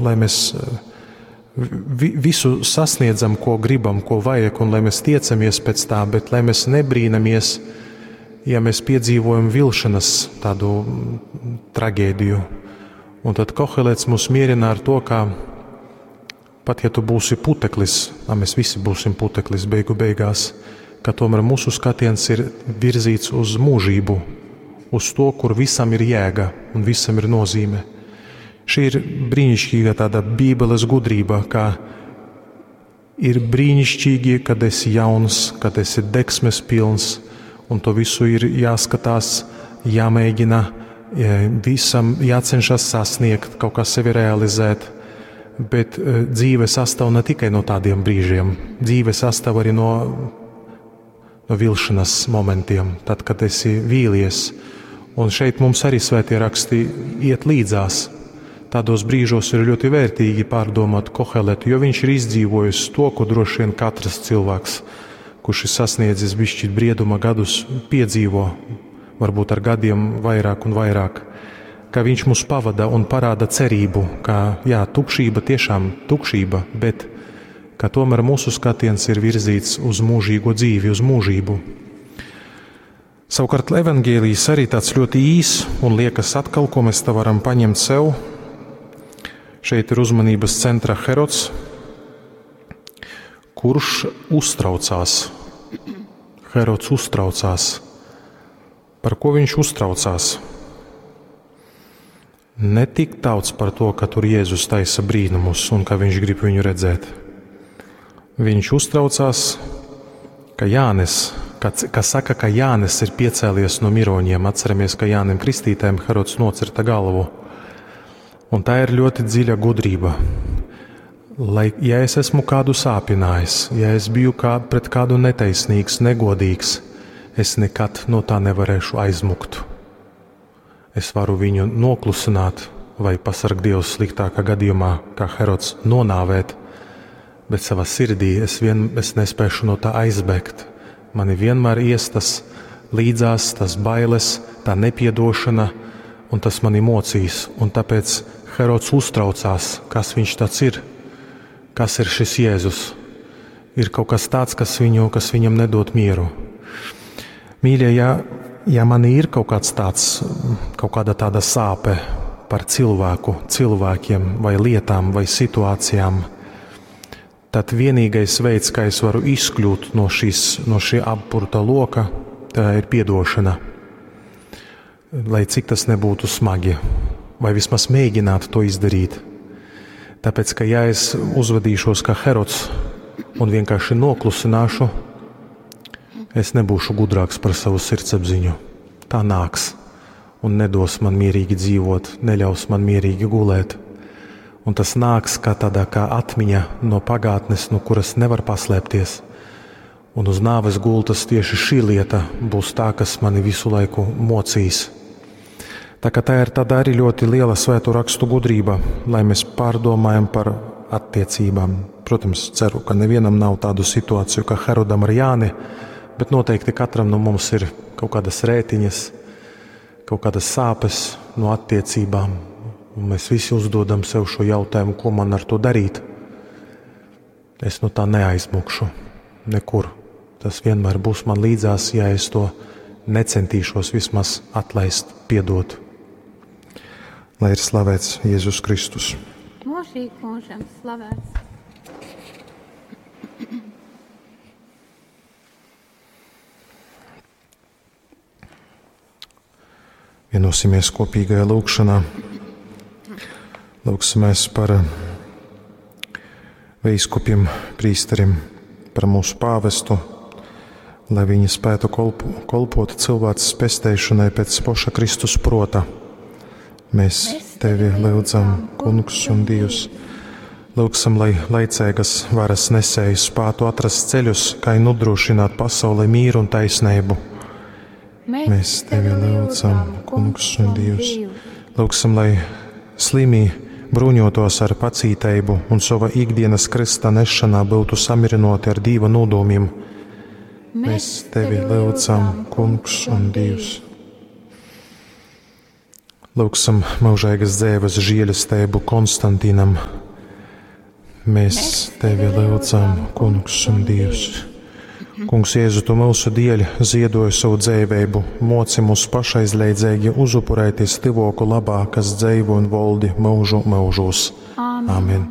lai mēs visu sasniedzam, ko gribam, ko vajag, un lai mēs tiecamies pēc tā, bet lai mēs nebrīnamies, ja mēs piedzīvojam vilšanas tādu traģēdiju. Un tad Kohelets mūs mierina ar to, ka pat ja tu būsi puteklis, a mēs visi būsim puteklis beigu beigās, ka tomēr mūsu skatiens ir virzīts uz mūžību, uz to, kur visam ir jēga un visam ir nozīme. Šī ir brīnišķīga tāda Bībeles gudrība, ka ir brīnišķīgi, kad esi jauns, kad esi degsmes pilns, un to visu ir jāskatās, jāmēģina, visam jācenšas sasniegt, kaut kā sevi realizēt. Bet dzīve sastāv ne tikai no tādiem brīžiem, dzīve sastāv arī no vilšanas momentiem, tad, kad esi vīlies. Un šeit mums arī svētie raksti iet līdzās. Tādos brīžos ir ļoti vērtīgi pārdomāt Koheletu, jo viņš ir izdzīvojis to, ko droši vien katrs cilvēks, kurš ir sasniedzis bišķīt brieduma gadus, piedzīvo, varbūt ar gadiem vairāk un vairāk, ka viņš mūs pavada un parāda cerību, ka jā, tukšība tiešām tukšība, bet ka tomēr mūsu skatiens ir virzīts uz mūžīgo dzīvi, uz mūžību. Savukārt evaņģēlijs arī tāds ļoti īs un liekas atkal, ko mēs te varam paņemt sev. Šeit ir uzmanības centra Herods, kurš uztraucās. Herods uztraucās. Par ko viņš uztraucās? Ne tik daudz par to, ka tur Jēzus taisa brīnumus un ka viņš grib viņu redzēt. Viņš uztraucās, ka Jānis, ka, ka saka, ka Jānis ir piecēlies no miroņiem. Atceramies, ka Jānim Kristītājam Herods nocirta galvu. Un tā ir ļoti dziļa gudrība. Lai, ja es esmu kādu sāpinājis, ja es biju kā, pret kādu netaisnīgs, negodīgs, es nekad no tā nevarēšu aizmukt. Es varu viņu noklusināt vai pasarg Dievs sliktākā gadījumā, kā Herods, nonāvēt, bet savā sirdī es, es nespēšu no tā aizbēgt. Mani vienmēr ies tas līdzās, tas bailes, tā nepiedošana, un tas mani mocīs. Un tāpēc Herods uztraucās, kas viņš tāds ir, kas ir šis Jēzus. Ir kaut kas tāds, kas, viņu, kas viņam nedod mieru. Mīļie, ja man ir kaut kāds tāds, kaut kāda tāda sāpe par cilvēku, cilvēkiem vai lietām vai situācijām, tad vienīgais veids, kā es varu izkļūt no, šīs, no šī apburta loka, tā ir piedošana. Lai cik tas nebūtu smagi, vai vismaz mēģināt to izdarīt. Tāpēc, ka ja es uzvedīšos kā Herods un vienkārši noklusināšu, es nebūšu gudrāks par savu sirdsapziņu. Tā nāks un nedos man mierīgi dzīvot, neļaus man mierīgi gulēt. Un tas nāks kā tādā kā atmiņa no pagātnes, no kuras nevar paslēpties. Un uz nāves gultas tieši šī lieta būs tā, kas mani visu laiku mocīs. Tā kā tā ir tāda arī ļoti liela svēto rakstu gudrība, lai mēs pārdomājam par attiecībām. Protams, ceru, ka nevienam nav tādu situāciju kā Herodam ar Jāni, bet noteikti katram no mums ir kaut kādas rētiņas, kaut kādas sāpes no attiecībām. Un mēs visi uzdodam sev šo jautājumu, ko man ar to darīt. Es no tā neaizmukšu nekur. Tas vienmēr būs man līdzās, ja es to necentīšos vismaz atlaist, piedot. Lai ir slavēts Jēzus Kristus. Mūžīgi mūžam slavēts. Vienosimies kopīgajā lūgšanā. Lūgsimies par bīskupiem, prīsteriem, par mūsu pāvestu, lai viņi spētu kolpot cilvēces pesteišanai pēc poša Kristus prota. Mēs tevi lūdzam, Kungs un Dievs. Lūgsim, lai laicīgas varas nesēji spētu atrast ceļus, kā nodrošināt pasaulē mīru un taisnību. Mēs tevi lūdzam, Kungs un Dievs. Lūgsim, lai slimī bruņotos ar pacīteibu un sava ikdienas krista nešanā būtu samirinoti ar Dieva nodomiem. Mēs tevi lūdzam, Kungs un Dievs. Lūgsim mūžīgas dzīves žēlestību Konstantinam. Mēs tevi lūdzam, Kungs un Dievs. Kungs Jēzu, tu mūsu dēļ ziedoji savu dzīvību, moci mūs pašaizliedzīgi uzupurēties tyvoku labā, kas dzīvo un valdi mūžu mūžos. Āmen. Amen.